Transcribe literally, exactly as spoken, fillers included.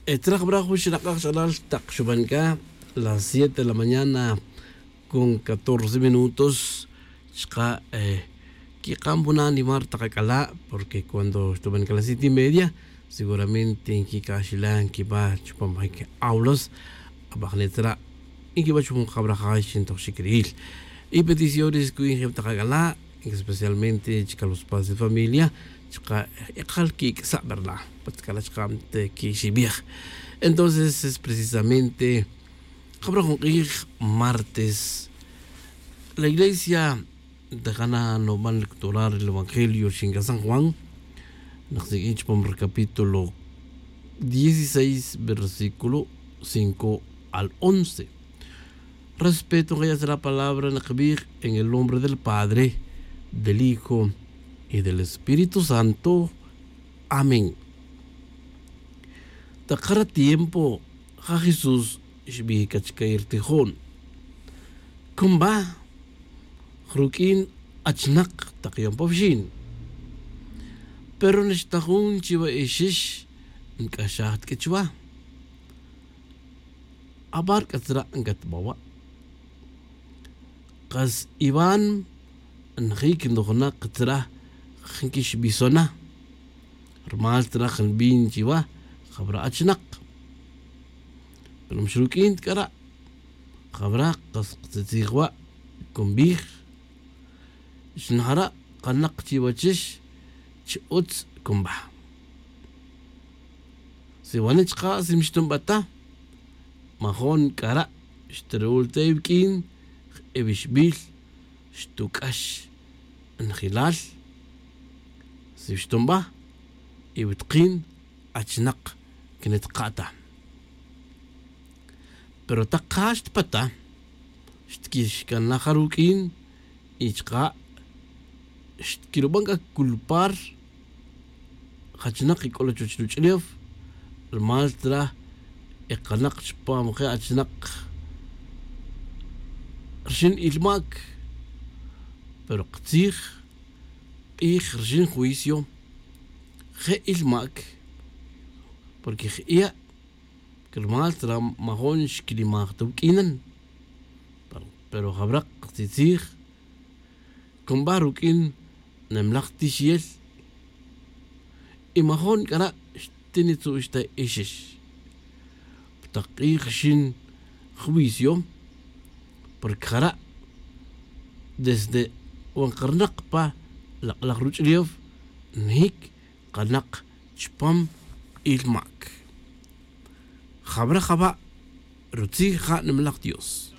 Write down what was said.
Tzraj bra jun xnak'aj ch'alal tak xuban c'a las siete de la mañana con catorce minutos. Chka' quik'am jun animar tak ac'ala', porque cuando xtuban c'a las siete y media seguramente nquic'axila nquiba chupam jec aulas. Abajne' tzra' nquiba chupam jabrajay xintojxic ri'il y peticiones cu'in jeb tak ac'ala', especialmente chca los padres de familia chka' ekal quic'sa' verdad, pues c'a la chka' quixibij. Entonces es precisamente jabra jun k'ij martes la iglesia de jana noban lecturar el evangelio xinca san juan. Nak siq'uin chupam ri capítulo dieciséis versículo cinco al once. Respeto nqaya' chira' palabra nqbij en el nombre del padre, del hijo y del espíritu santo. Amén. Tak jara tiempo ja jesús xbij c'a chica ri tijon, cumba ruq'uin achnak tak yom pa wixin. Pero nixta jun chiwa ixix nc'axaj tiq'ui chuwa. Abar c'atzra' ncatbawa'. Kas iwan njic nojnak tzra' nquixbisona. Rumal tzra' nbin chiwa jabra' achnak. Pero mixruq'uin ta c'ara' jabra' kas ktzitzij wa' cunbij. Xnajara' kanak chiwachix chi utz cumba. Si wani' chka' si mixtunba ta majon c'ara' xtirul ta iwuq'uin iwixbil xtuc'ax. Njelal si xtunba iwitakin achnak quinitaka' ta. Pero tak ja xtpata xtquixcanaj ja ruq'uin y chka' xtquiruban c'a culpar. Jachnak ic'ola chuwech ruch'ulef rumal tzra' ekanak chupam je' achnak rixin ilmac. Pero katzij k'ij rixin juicio je' ilmac. Porque je' ya' rumal tzra' majon xquilimaj ta wuq'uinan. Pero jabra' katzitzij cumba ruq'uin nimlaj tixiyel. Y majon c'ara' xtinitzu'x ta ixix pa tak k'ij rixin juicio. Porque jara' desde wan karnak pa lak'laj ruch'ulef njic kanak chupam ilmac. Jabra' jaba' rutzij ja' nimlaj dios.